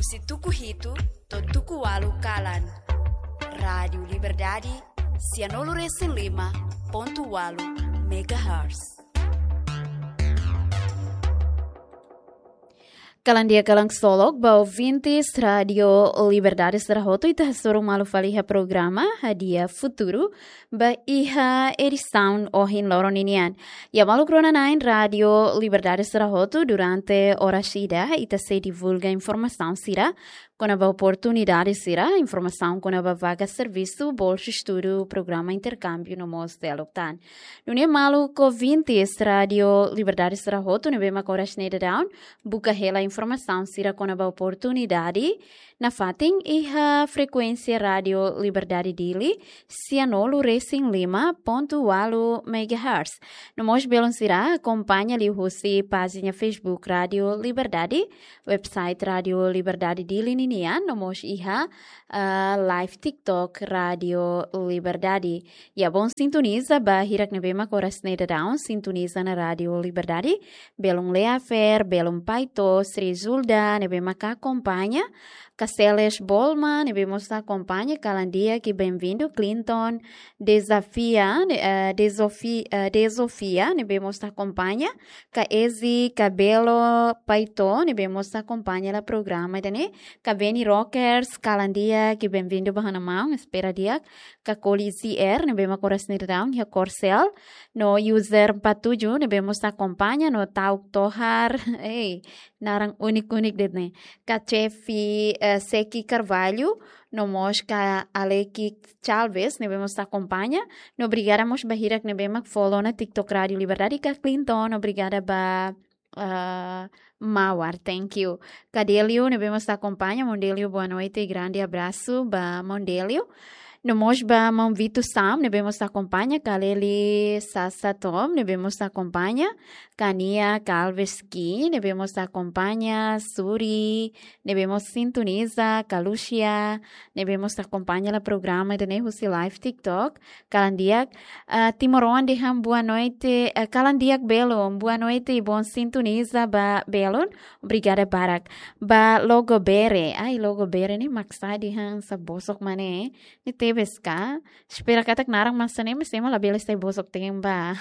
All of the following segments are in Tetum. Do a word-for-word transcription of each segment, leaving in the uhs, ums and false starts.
Husi tuku hitu to'o tuku ualu kalan. Rádiu Liberdade, sianulu resin lima pontu ualu megahertz. Kalan di'ak, kalan ksolok ba ouvintes Rádiu Liberdade sira hotu, ita hasoru malu fali iha programa Hadi'a Futuru ba iha edisaun ohin loron ninian. Ya maluk rona-na'in Rádiu Liberdade sira hotu, durante oras ida ita sei divulga informasaun sira kona-ba oportunidade sira, informasaun kona-ba vaga servisu, bolsa estudu, programa interkámbiu no mós seluk tan. Nune'e maluk ouvintes Rádiu Liberdade sira hotu ne'ebé mak oras ne'e daudaun buka hela informasaun sira kona-ba oportunidade nafatin iha frekuénsia Rádiu Liberdade Dili, sianulu resin lima pontu ualu megahertz. No mós belun sira akompaña liuhusi pájina Facebook Rádiu Liberdade, website Rádiu Liberdade Dili ninian, no mós iha, ah, live TikTok Rádiu Liberdade. Ya, bom sintoniza ba hirak ne'ebé mak oras ne'e daudaun sintoniza ona Rádiu Liberdade. Belun Lea Fer, belun Paito, Sri Zulda ne'ebé mak akompaña, Caceles Bolma ne'ebé mós akompaña, kalan di'ak i benvindu, Clinton Desafia, ne-, eh, Desofi-, eh, Desofia ne'ebé mós akompaña, ka Ezi Cabelo Paito ne'ebé mós akompaña hela programa ida-ne'e, ka Benny Rockers, kalan di'ak i benvindu ba ha'u-nia maun, espera di'ak, ka Koli Z R ne'ebé mak oras ne'e daudaun iha Korsel, no user empat tujuh ne'ebé mós akompaña, no Tauk Tohar, ei, naran úniku-úniku de'it ne'e, ka Chefi, eh, Seki Carvalho, no mós ka Aleki Chalves ne'ebé mós akompaña, no obrigada mós ba hirak ne'ebé mak follow ona TikTok Rádiu Liberdade, ka Clinton, obrigada ba, ah, Mawar, thank you. Ka Delio ne'ebé mós akompaña, maun Delio, boa noite, grande abraço ba maun Delio. No mós ba maun Vito Sam ne'ebé mós akompaña, ka Leli Sasa Tom ne'ebé mós akompaña, ka Nia Calves Ki ne'ebé mós akompaña, Suri ne'ebé mós sintoniza, ka Lucia ne'ebé mós akompaña hela programa ida-ne'e husi live TikTok, kalan di'ak, ah, timoroan dehan boa noite, eh, kalan di'ak belun, boa noite i bom sintoniza ba belun, obrigada barak. Ba Logo Bere, ai, Logo Bere ne'e mak sá dehan sá bosok mak ne'e, ne'e tebes ka? Espera katak naran mak hanesan ne'e, mas ema labele sai bosok-teen ba.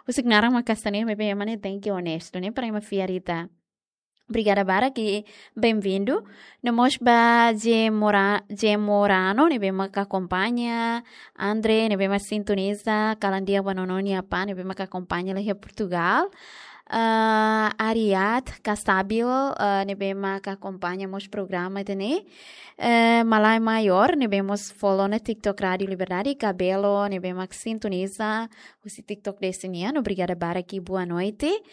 Husik naran mak hanesan ne'e, maibé ema ne'e tenke onestu, ne'e para ema fiar ita. Obrigada barak i benvindu. No mós ba Jemora-, Jemorano ne'ebé mak akompaña, Andre ne'ebé mak sintoniza, kalan di'ak ba nono nia apá ne'ebé mak akompaña hela iha Portugal. Ah, Ariad Casabil, ah, ne'ebé mak akompaña mós programa ida-ne'e. Eh, Malai Maior ne'ebé mós follow ona TikTok Rádiu Liberdade, Cabelo ne'ebé mak sintoniza husi TikTok de'it nian, obrigada barak i boa noite.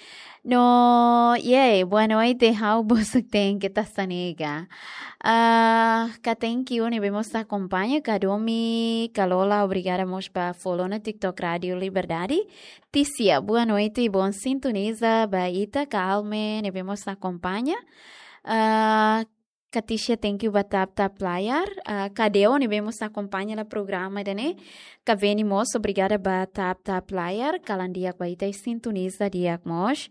No, yeah, boa noite, ha'u bosok-teen, keta sanega. Ah, ka thank you ne'ebé mós akompaña, ka Domi, ka Lola, obrigada mós ba follow ona TikTok Rádiu Liberdade. Tícia, boa noite i bom sintoniza ba ita, ka Alme ne'ebé mós akompaña. Ah, ka Tícia, thank you ba tap tap layar. Ah, ka Deo ne'ebé mós akompaña hela programa ida-ne'e. Ka Veni mós, obrigada ba tap tap layar, kalan di'ak ba ita i sintoniza di'ak mós.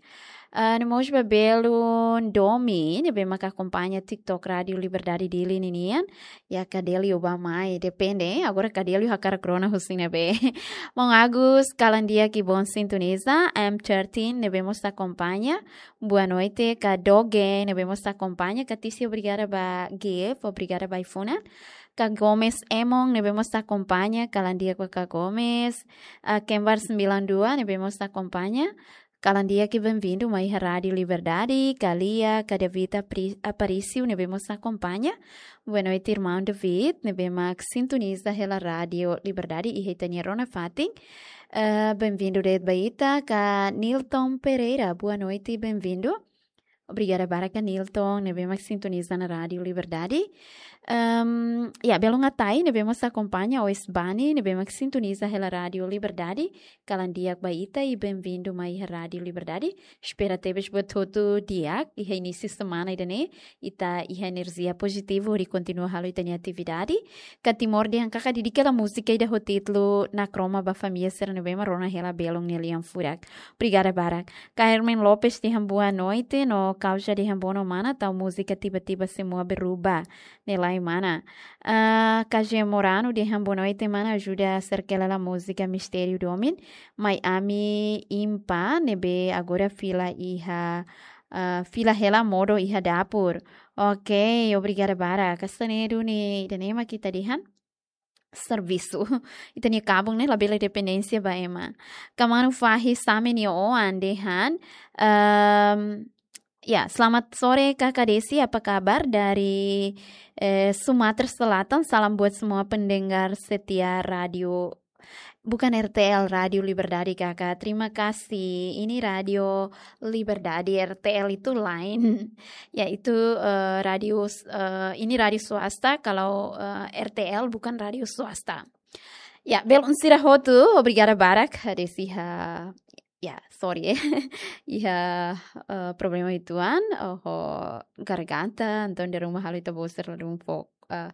Ah, no mós ba belun Domi ne'ebé mak akompaña TikTok Rádiu Liberdade Dili ninian. Ya, ka Delio ba mai, depende, eh. Agora ka Delio hakarak rona husi ne'ebé. Maun Agus, kalan di'ak i bom sintoniza, M thirteen ne'ebé mós akompaña. Boa noite, ka Doge ne'ebé mós akompaña, ka Tícia, obrigada ba gift, obrigada ba ai-funan. Ka Gomes Emon ne'ebé mós akompaña, kalan di'ak ba ka Gomes. Ah, Kembar sembilan dua ne'ebé mós akompaña, kalan di'ak i benvindu mai iha Rádiu Liberdade, ka Lia, ka David Apri-, Aparício ne'ebé mós akompaña. Boa noite, irmaun David, ne'ebé mak sintoniza hela Rádiu Liberdade iha ita-nia rona fatin. Eh, benvindu de'it ba ita, ka Nilton Pereira, boa noite, benvindu. Obrigada barak ka Nilton, ne'ebé mak sintoniza ona Rádiu Liberdade. Ehm, ya, belun Atai, ne'ebé mós akompaña, Oes Bani, ne'ebé mak sintoniza hela Rádiu Liberdade, kalan di'ak ba ita i benvindu mai iha Rádiu Liberdade. Espera tebes buat hotu di'ak, iha inísiu semana ida-ne'e ita iha enerjia pozitivu hodi kontinua halo ita-nia atividade. Ka Timor dehan karik dedika hela múzika ida ho títulu Nakroma ba família sira ne'ebé mak rona hela belun nia lian furak. Obrigada barak. Ka Hermen Lopes dehan boa noite, no Kauja dehan bono mana, tau múzika tiba-tiba semua berubah, ne'e lae mana. Ah, Kaje Morano dehan boa noite mana, ajuda serkela la múzika Mistériu Domin, mai ami impa ne'ebé agora fila iha, ah, fila hela modo iha dapur. Ok, obrigada barak. Kastanedu ni danema kita dehan servisu. Ita-nia kabun ne'e labele dependénsia ba ema. Kamanu fahi same ni oan dehan. Ehm, ya, selamat sore Kakak Desi, apa kabar dari, eh, Sumatera Selatan? Salam buat semua pendengar setia radio, bukan R T L, Radio Liberdade, Kakak. Terima kasih. Ini Radio Liberdade, R T L itu lain. Ya, itu, eh, radio s-, eh, ini radio swasta, kalau, eh, R T L bukan radio swasta. Ya, belun sira hotu, obrigada barak, Desi, iha, ya, sorry, eh. Iha, eh, problema uitoan, ho garganta, entaun iha rumah halo ita-boot sira ladún fo-, eh,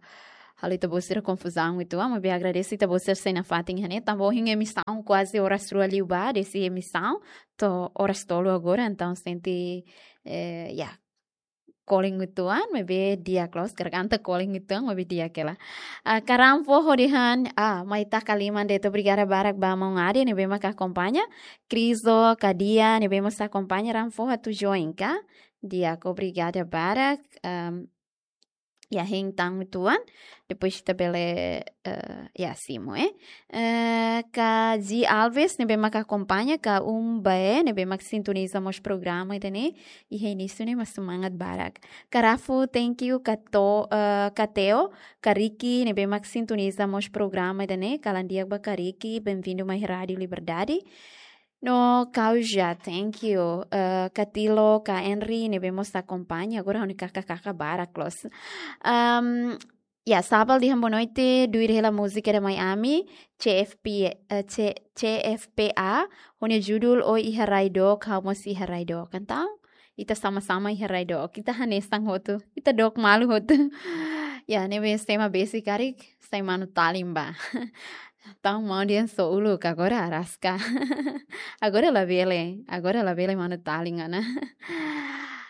halo ita-boot sira konfuzaun uitoan, maibé agradese ita-boot sira sei nafatin iha ne'e, tanba ohin emisaun kuaze oras rua liubá, Desi, emisaun to'o oras tolu agora, entaun sente, eh, ya, kole uitoan, maibé di'ak loos, garganta kole uitoan, maibé di'ak hela. Ah, Karan Foho dehan, ah, mai taka liman de'it, obrigada barak ba maun Ade, ne'ebé mak akompaña. Krizo, Kadia, ne'ebé mós akompaña, Ran Foho atu join ka? Di'ak, obrigada barak. Ehm, ya, hein tan uitoan. Depois ita bele, eh, ya, simu, eh. Eh, Kaji Alves, ne'ebé mak akompaña, Ka Umbae, ne'ebé mak sintoniza mós programa ida-ne'e, iha inísiu ne'e mak semangat barak. Karafu, thank you, Kato, eh, Kateo, Kariki, ne'ebé mak sintoniza mós programa ida-ne'e, kalan di'ak ba Kariki, bem-vindo mai Rádio Liberdade. No Kauja, thank you. Eh, Katilo, Ka Henry, ne'ebé mós akompaña, agora ha'u-nia kaka-kaka barak loos. Ehm, Ya, Sabal dehan boa noite, duir hela múzika ida mai ami, C F P, eh, C-, C F P A, ho nia judul Ó Iha Rai Dook, Ha'u Mós Iha Rai Dook. Entaun, ita sama-sama iha rai dook, ita hanesan hotu, ita dook malu hotu. Ya, ne'ebé ema besik karik, sai manu-talin bá. Entaun maun dehan só uluk, agora araska. Agora labele, agora labele manu-talin ona.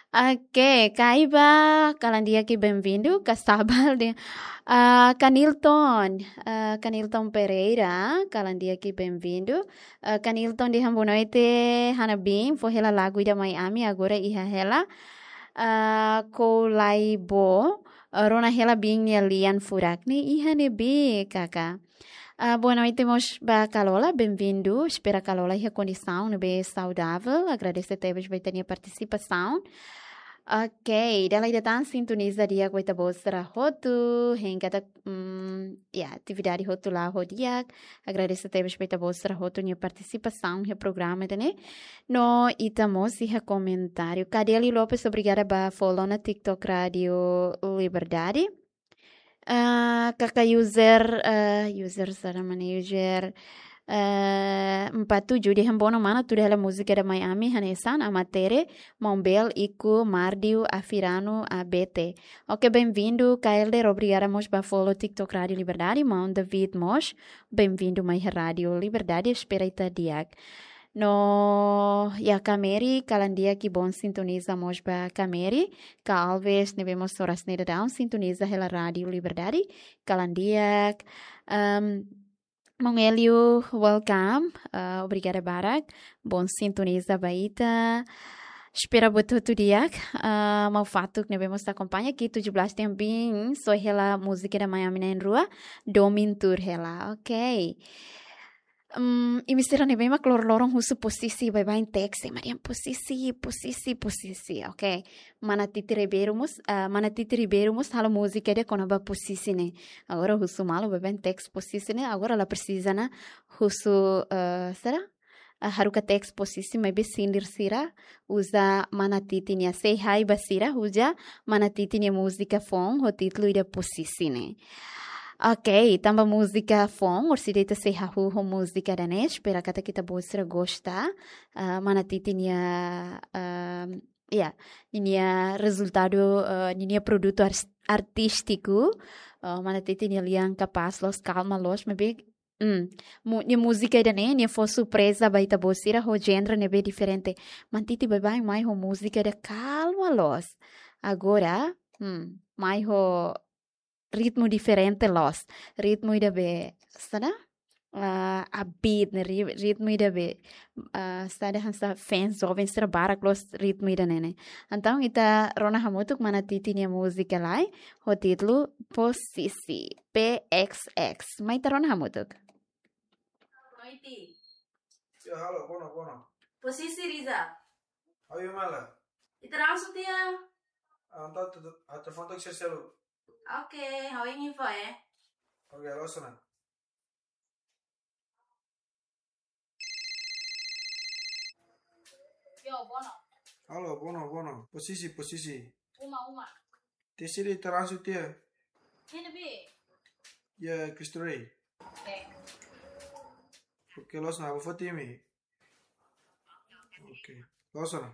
Oke, Kaiba, kalan di'ak i bem-vindo, Ka Sabal dehan, ah, Kanilton, ah, Kanilton Pereira, kalan di'ak i bem-vindo. Ah, Kanilton dehan boa noite, Hana Bin, fó hela lagu ida mai ami, agora iha hela. Ah, Koulaibo, ah, rona hela Bin nia lian furak ne'e iha ne'ebé, Kaka. Ah, boa noite mós ba Kalola, bem-vindo. Espera Kalola iha kondisaun ne'ebé saudável. Agradese tebes ba ita-nia partisipasaun. Ok, dala ida tan sintoniza di'ak ba ita-boot sira hotu. Hein katak, mm, ya, atividade hotu la'o ho di'ak. Agradese tebes ba ita-boot sira hotu nia partisipasaun iha programa ida-ne'e. No ita mós iha komentáriu. Kadeli Lopes, obrigada ba follow ona TikTok Rádio Liberdade. Ah, Kaka user, ah, user sira-ne'e user, ah, empat tujuh dehan boa noite mana, tuir hela múzika ida mai ami hanesan Ama Tere, Maun Bel, Iku, Mardiu, Afirano, A B T. Ok, bem-vindo, Kaelder, obrigada mós ba follow TikTok Rádio Liberdade, Maun David mós, bem-vindo mai Rádio Liberdade, espera ita di'ak. No, ya, Kameri, kalan di'ak i bom sintoniza mós ba Kameri, Ka Alves, ne'ebé mós oras ne'e daudaun sintoniza hela Rádio Liberdade, kalan di'ak. Ehm, Maun Elio, welcome. Ah, obrigada barak. Bom sintoniza ba ita. Espera buat hotu di'ak. Ah, maun Fatuk ne'ebé mós akompaña, Ki tujuh belas dehan bin, só hela múzika ida mai ami na'in-rua, domin tuur hela. Ok. Hmm, imi sira ne'ebé mak loroloron husu posisi, baibain teks, ema dehan posisi, posisi, posisi, ok. Mana Titi Ribeiro mós, ah, Mana Titi Ribeiro mós halo múzika ida kona-ba posisi ne'e. Agora husu malu, baibain teks posisi ne'e, agora la presiza ona husu, eh, sira? Ah, haruka teks posisi, maibé sindir sira uza Mana Titi nia, sei hai ba sira uza Mana Titi nia múzika foun ho títulu ida posisi ne'e. Ok, tanba múzika foun, orsida ita sei hahú ho múzika ida-ne'e, espera katak ita-boot sira gosta, ah, Mana Titi nia, ah, ya, ninia rezultadu, ah, ninia produtu ars-, artístiku, ah, Mana Titi nia lian kapás loos, kalma loos, maibé Hmm. Mu-, nia múzika ida-ne'e, nia fó surpreza ba ita-boot sira ho genre ne'ebé diferente. Mano Titi baibain mai ho múzika ida kalma loos. Agora, hmm, mai ho ritmu diferente loos. Ritmu ida be, saida? Ah, upbeat ne'e, ri-, ritmu ida be, ah, saida hanesan fans joven sira barak loos ritmu ida-ne'e. Entaun ita rona hamutuk Mano Titi nia múzika lai, ho títulu Posisi, P X X. Mai ita rona hamutuk. Noite. Ya, halo, boa noite, boa noite. Posisi, Riza. Ha'u iha uma lai. Ita langsung tiha. Ah, entaun, tu, tu, atu foto ke selu. Oke, ha'u iha info, eh. Oke, loos ona. Yo, boa noite. Halo, boa noite, boa noite. Posisi, Posisi. Uma, uma. Ita sei ita langsung tiha. Iha ne'ebé? Iha Cristo Rei. Oke. Oke, loos ona, ha'u foti imi. Oke. Loos ona.